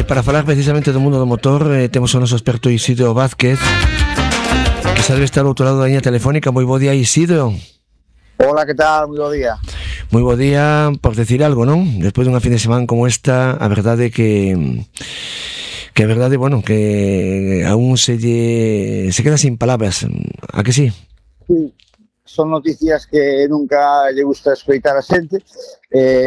Para falar precisamente do mundo do motor, temos o noso experto Isidro Vázquez, que sabe estar ao outro lado da liña telefónica. Moi bo día, Isidro. Hola, que tal? Moi bo día. Moi bo día, por decir algo, non? Despois dunha fin de semana como esta, a verdade que a verdade, bueno, que aún se queda sin palabras. A que sí? Sí, son noticias que nunca lle gusta escoitar a xente.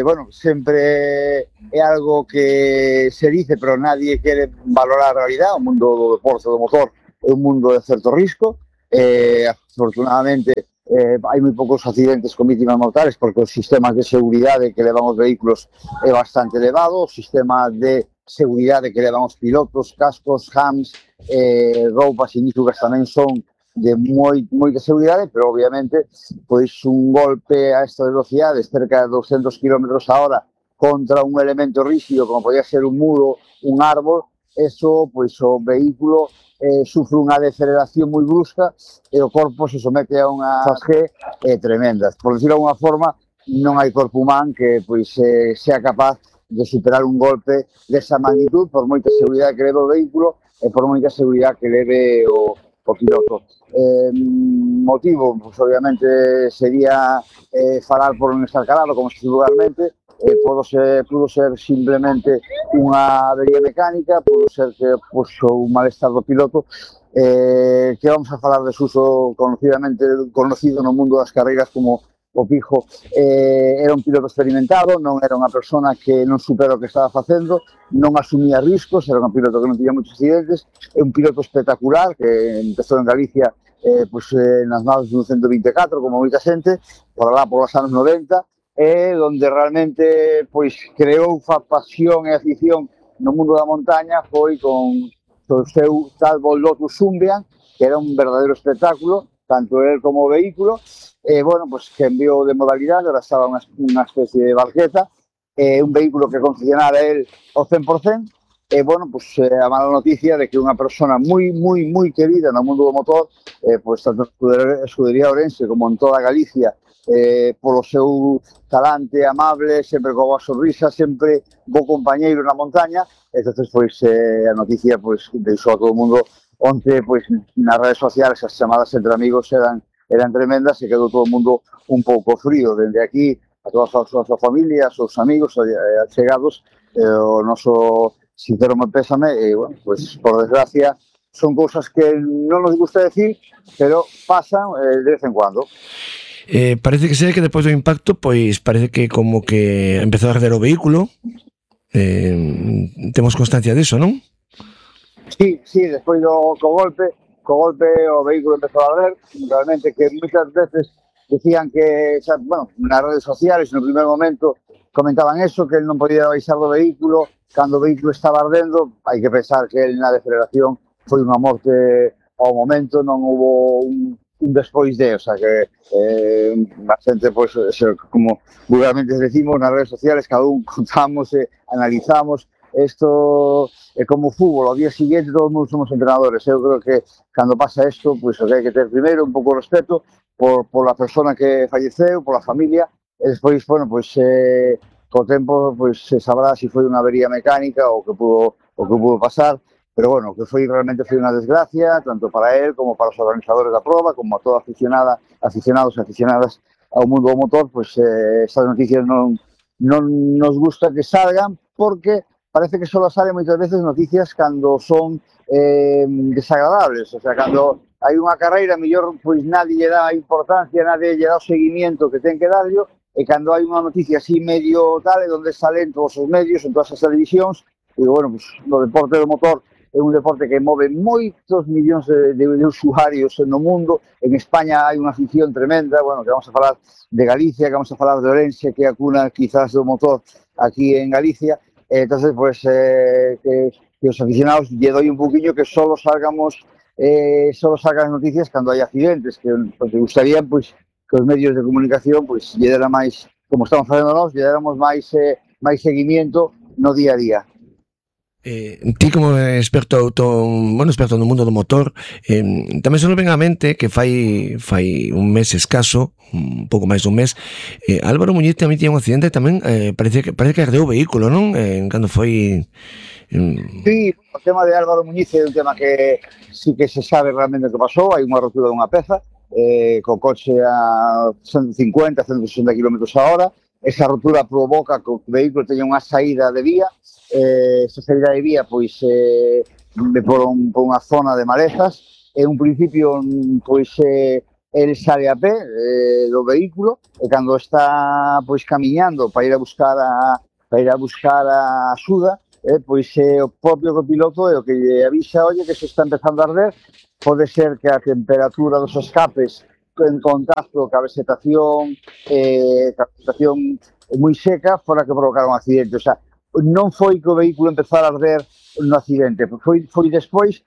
Bueno, sempre é algo que se dice, pero nadie quere valorar a realidade. O mundo do deporte do motor é un mundo de certo risco. Afortunadamente, hai moi poucos accidentes con vítimas mortales porque os sistemas de seguridade que levan os vehículos é bastante elevado, o sistema de seguridade que levan os pilotos, cascos, hams, roupas inífugas tamén son de moita seguridade, pero obviamente pois un golpe a esta velocidade, cerca de 200 km a hora contra un elemento rígido como podía ser un muro, un árbol, eso, pois o vehículo sufre unha deceleración moi brusca e o corpo se somete a unha fasgue tremenda. Por decirlo de alguna forma, non hai corpo humano que pois sea capaz de superar un golpe desa magnitud por moita seguridade que leve o vehículo e por moita seguridade que leve o piloto. Motivo, pues, obviamente, sería falar por non estar calado, como se dice vulgarmente. Pudo ser simplemente unha avería mecánica, pudo ser que un malestar do piloto, que vamos a falar de Suso conocido no mundo das carreiras como o Pijo. Era un piloto experimentado, non era unha persona que non supera o que estaba facendo, non asumía riscos, era un piloto que non tiña moitos accidentes, é un piloto espectacular que empezou en Galicia nas naves do 124, como moita xente, por lá por os anos 90, onde realmente creou pasión e afición no mundo da montaña foi con o seu tal Lotus Symbian, que era un verdadeiro espectáculo, tanto él como o vehículo. Bueno, pues cambiou de modalidade, ahora estaba unha especie de barqueta, un vehículo que concesionara él ao 100%, bueno, pues a mala noticia de que unha persona moi querida no mundo do motor, pues tanto en Escudería Ourense como en toda Galicia, polo seu talante amable, sempre con boa sonrisa, sempre bo compañeiro na montaña. Entonces, pois, a noticia deixou a todo o mundo onde, pois, nas redes sociales as chamadas entre amigos eran tremendas e quedou todo o mundo un pouco frío. Dende aquí, a todas as súas familias, os amigos, achegados, o noso sincero pésame, e, bueno, pois, por desgracia, son cousas que non nos gusta decir, pero pasan de vez en cuando. Parece que depois do impacto, pois parece que como que empezou a arder o vehículo. Temos constancia diso, non? Sí, despois co golpe o vehículo empezou a arder. Realmente que moitas veces decían que, bueno, nas redes sociales no primer momento comentaban eso, que él non podía baixar do vehículo cando o vehículo estaba ardendo. Hai que pensar que él na deceleración foi unha morte ao momento, non hubo un despois de, o sea que a xente, pois, como vulgarmente decimos nas redes sociales, cada un contamos e analizamos. Isto é como o fútbol, ao día seguinte todos nós somos entrenadores. Eu creo que cando pasa isto, pois o que hai que ter primeiro un pouco de respeto por a persona que falleceu, pola familia, e despois, bueno, pois co tempo pois se sabrá se foi unha avería mecánica ou o que pudo pasar. Pero bueno, que realmente foi unha desgracia, tanto para él como para os organizadores da proba, como a toda aficionados e aficionadas ao mundo do motor. Pois estas noticias non nos gusta que salgan, porque parece que só salen moitas veces noticias cando son desagradables. O sea, cando hai unha carreira, mellor pois nadie lle dá importancia, nadie lle dá o seguimiento que ten que darlo, e cando hai unha noticia así medio tal, é onde salen todos os medios, en todas as televisións. E bueno, pois, o deporte do motor é un deporte que move moitos millóns de usuarios no mundo. En España hai unha afición tremenda, bueno, que vamos a falar de Galicia, que vamos a falar de Ourense, que é a cuna quizás do motor aquí en Galicia. Entonces, pues, que os aficionados lle doi un poquinho que solo salgan noticias cando hai accidentes, que me gustaría, pues, que os medios de comunicación, pues, lle deran máis, como estamos facendo nós, lle deramos máis seguimiento no día a día. Ti como experto no mundo do motor, tamén se nos ven á mente que fai un mes escaso, un pouco máis dun mes, Álvaro Muñiz tamén tiña un accidente, tamén parece que ardeu o vehículo, non? Cando foi Sí, o tema de Álvaro Muñiz é un tema que sí que se sabe realmente o que pasou. Hai unha rotura dunha peza, co coche a 150, 160 km a hora. Esa rotura provoca que o vehículo teña unha saída de vía. Esa saída de vía, pois, por unha zona de malezas. En un principio, pois, el sale a pé do vehículo e cando está, pois, camiñando para ir a buscar a axuda, pois o propio copiloto é o que lle avisa, oye, que se está empezando a arder. Pode ser que a temperatura dos escapes en contacto ca vegetación moi seca fora que provocara un accidente. O sea, non foi que o vehículo empezara a arder no accidente, foi despois,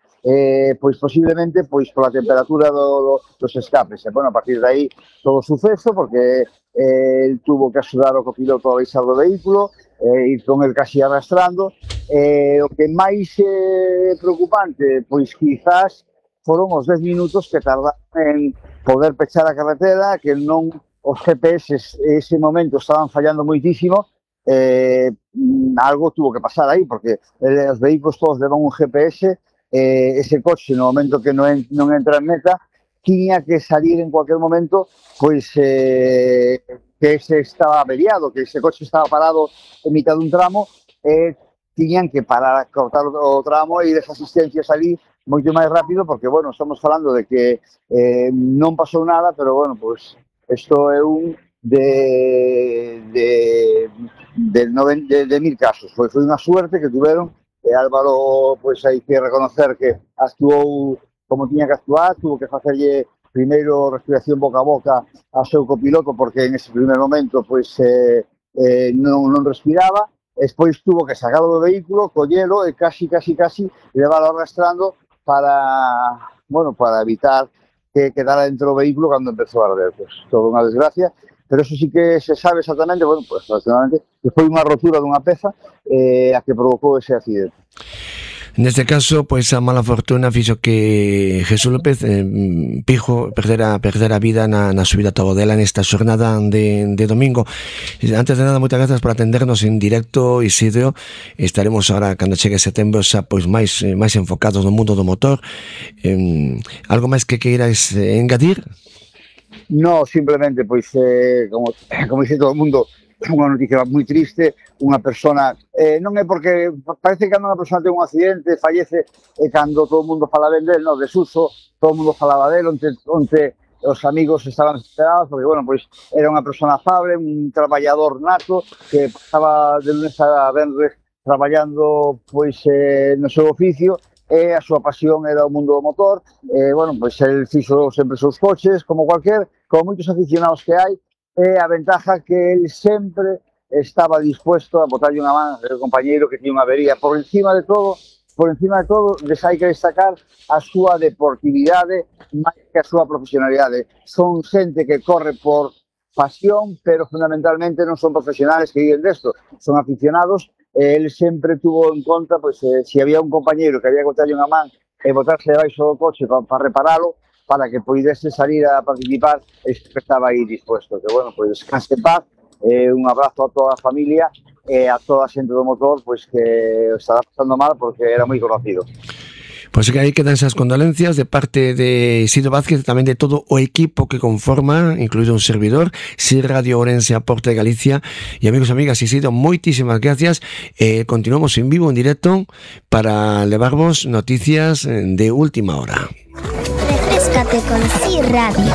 pois posiblemente pois pola temperatura dos escapes. E, bueno, a partir de aí todo o suceso, porque el tuvo que axudar o copiloto a baixar do vehículo, ir con el casi arrastrando. O que máis preocupante, pois quizás foron os 10 minutos que tardaron en poder pechar a carretera, que non os GPS ese momento estaban fallando moitísimo. Algo tuvo que pasar aí, porque os vehículos todos levan un GPS. Ese coche, no momento que non entra en meta, tiña que salir en cualquier momento, pois que ese estaba averiado, que ese coche estaba parado en mitad dun tramo, tiñan que parar a cortar o tramo e ir as asistencias ali moito máis rápido, porque, bueno, estamos falando de que non pasou nada, pero, bueno, pois isto é un de 1000 casos. Foi unha suerte que tuveron. E Álvaro, pois hai que reconocer que actuou como tiña que actuar, tuvo que facerlle primeiro respiración boca a boca ao seu copiloto, porque en ese primer momento pois non respiraba. Despois tuvo que sacarlo do vehículo, collelo e casi leválo arrastrando para evitar que quedara dentro do vehículo cando empezou a arder. Pois toda unha desgracia. Pero eso sí que se sabe exactamente, bueno, pues exactamente, que foi unha rotura dunha peza a que provocou ese accidente. Neste caso, pois a mala fortuna fixo que Jesús López Pijo perdera a vida na subida a Tobodela nesta xornada de domingo. Antes de nada, moitas grazas por atendernos en directo, Isidro. Estaremos agora, cando chegue setembro, xa pois máis enfocados no mundo do motor. Algo máis que queiras engadir? No, simplemente, pois, como dice todo o mundo, unha noticia moi triste, unha persona, non é porque parece que cando unha persona ten un accidente, fallece, e cando todo o mundo fala ben del, no, desuso, todo o mundo falaba del, onte os amigos estaban desesperados, porque, bueno, pois, era unha persona afable, un traballador nato, que pasaba de lunes a venres traballando, pois, no seu oficio, e a súa pasión era o mundo do motor. Bueno, pois el fixo sempre os seus coches, como moitos aficionados que hai, e a ventaja que el sempre estaba dispuesto a botarlle unha man ao compañeiro que tiña unha avería. Por encima de todo, hai que destacar a súa deportividade máis que a súa profesionalidade. Son xente que corre por pasión, pero fundamentalmente non son profesionales que viven desto, son aficionados. Ele sempre tuvo en conta, pois, se había un compañeiro que había que botarlle unha man e botarse debaixo do coche para reparalo, para que poidese salir a participar, estaba aí dispuesto. Que, bueno, pois, descanse en paz, un abrazo a toda a familia e a toda a xente do motor, pois, que estaba pasando mal porque era moi conocido. Pois que aí quedan esas condolencias de parte de Isidro Vázquez e tamén de todo o equipo que conforma, incluído un servidor, SIR Radio Ourense, Aporte de Galicia. E amigos e amigas, Isidro, moitísimas gracias. Continuamos en vivo, en directo, para levarvos noticias de última hora. Refrescate con SIR Radio.